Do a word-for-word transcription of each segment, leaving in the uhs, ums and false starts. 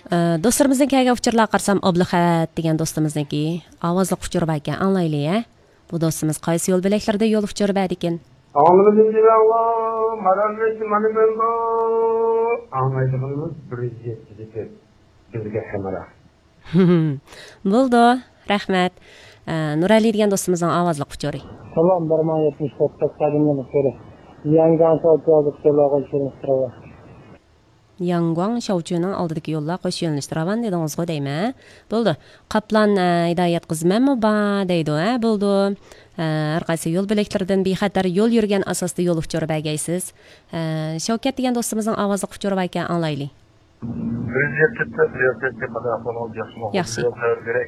ئە، دوستلىرىمىزنىڭ كەلگەن ئۇچۇرلارغا قارىسام، ئابلىخەت دېگەن دوستىمىزنىڭكى ئاۋازلىق ئۇچۇرى باركەن، ئاڭلايلى، ھە؟ بۇ دوستىمىز قايسى يول بۆلەكلىرىدە يول ئۇچۇرى بەردىكىن؟ ئاڭلىمىدىم دېمەڭ، مانا مەن بۇ. ئاڭلايدىغىنىمىز بىر يۈز يەتتە دېگەن بىزگە ھەمراھ. بولدى، رەھمەت. ئە، نۇرئەلى دېگەن دوستىمىزنىڭ ئاۋازلىق ئۇچۇرى. سالام، بىر مىڭ يەتمىش تۆت، تەكسادىن يەنە كۆرە. يەنگاڭ شاۋچۇ ھازىر كېلىۋالغان شېرىن ئۇچۇرى. ياڭگۇاڭ شاۋچۈنىڭ ئالدىدىكى يوللار قوش يۆنىلىشتە راۋان دېدىڭىزغۇ دەيمەن. بولدى. قاپلان، ئە، ھىدايەت قىزى مەنمۇ بار دەيدۇ، ھە، بولدى. ئە، ھەر قايسى يول بۆلەكلىرىدىن بىخەتەر يول يۈرگەن ئاساستا يول ئۇچۇرى بەرگەيسىز. ئە، شەۋكەت دېگەن دوستىمىزنىڭ ئاۋازلىق ئۇچۇرى باركەن، ئاڭلايلى. بىر يۈز يەتتە، بىر يۈز يەتتە، قانداق ئەھۋال، ياخشىمۇ؟ ياخشى. يول تەۋر بېرەي.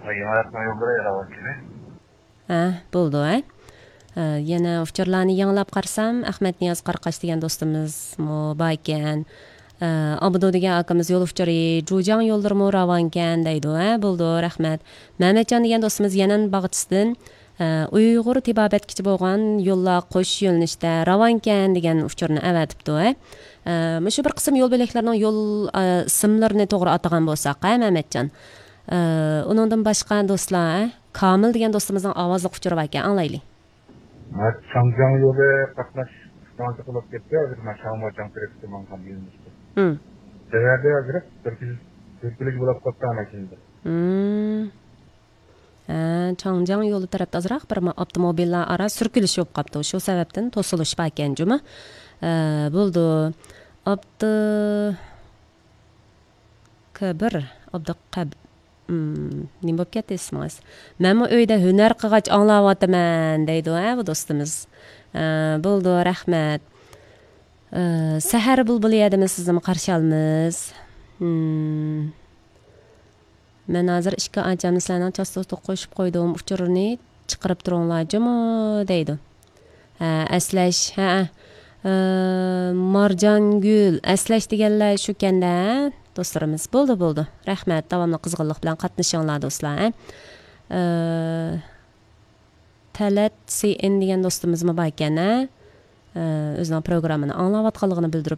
ھاي، يېڭى ھەپتىنىڭ يوللىرى راۋان كېلى. ھە، بولدى، ھە. ئە، يەنە ئۇچۇرلارنى يېڭىلاپ قارىسام، ئەخمەت نىياز قاراقاش دېگەن دوستىمىزمۇ بار ئىكەن. ئە، ئابدۇ دېگەن ئاكىمىز يول ئۇچۇرى، جۇجياڭ يوللىرىمۇ راۋانكەن دەيدۇ، ھە، بولدى، رەھمەت. مەمەتجان دېگەن دوستىمىز يەنەن باغچىسىدىن، ئە، ئۇيغۇر تېبابەتكىچە بولغان يوللار قوش يۆنىلىشتە راۋانكەن دېگەن ئۇچۇرنى ئەۋەتىپتۇ، ھە. ئە، مۇشۇ بىر قىسىم يول بۆلەكلەرنىڭ يول، ئە، ئىسىملىرىنى توغرا ئاتىغان بولساق، ھە، مەمەتجان. ئە، ئۇنىڭدىن باشقا دوستلار، ھە؟ كامىل دېگەن دوستىمىزنىڭ ئاۋازلىق ئۇچۇرى باركەن، ئاڭلايلى. مانا چاڭجياڭ يولى قاتناش ئىستانسا قىلىپ كەتتى، ھازىر مانا شاڭماچياڭ تەرەپكە ماڭغان يۆنىلىشتە. ھىم. سەۋەبى ھازىر بىر كۈن سۈركىلىش بولۇپ قاپتۇ ماشىنىدا. ھىم. ھە، چاڭجياڭ يولى تەرەپتە ئازراق بىر ما-، ئاپتوموبىللار ئارا سۈركىلىش بولۇپ قاپتۇ. شۇ سەۋەبتىن توسۇلۇش باركەن جۇمۇ. ھە، بولدى. ئابدۇ كەبىر، ئابدۇقەب-، ئىم، نېمە بولۇپ كەتتى ئىسمىڭىز؟ مەنمۇ ئۆيدە ھۈنەر قىلغاچ ئاڭلاۋاتىمەن، دەيدۇ، ھە، بۇ دوستىمىز. ئە، بولدى، رەھمەت. ئە، سەھەر بۇلبۇلى يەردىمۇ سىزنىمۇ قارشى ئالىمىز. ئىم، مەن ھازىر ئىككى ئاچامنى سىلەرنىڭ چاستوتىغا قوشۇپ قويدۇم، ئۇچۇرىنى چىقىرىپ تۇرۇڭلار جۇمۇ، دەيدۇ. ھە، ئەسلەش، ھە، ئە، مارجانگۈل، ئەسلەش دېگەنلەر شۇكەندە، ھە، دوستلىرىمىز. بولدى، بولدى. رەھمەت، داۋاملىق قىزغىنلىق بىلەن قاتنىشىڭلار، دوستلار، ھە. ئە، تەلەت سى ئېن دېگەن دوستىمىزمۇ باركەن، ھە. ئە، ئۆزىنىڭ پروگراممىنى ئاڭلاۋاتقانلىقىنى بىلدۈرۈپ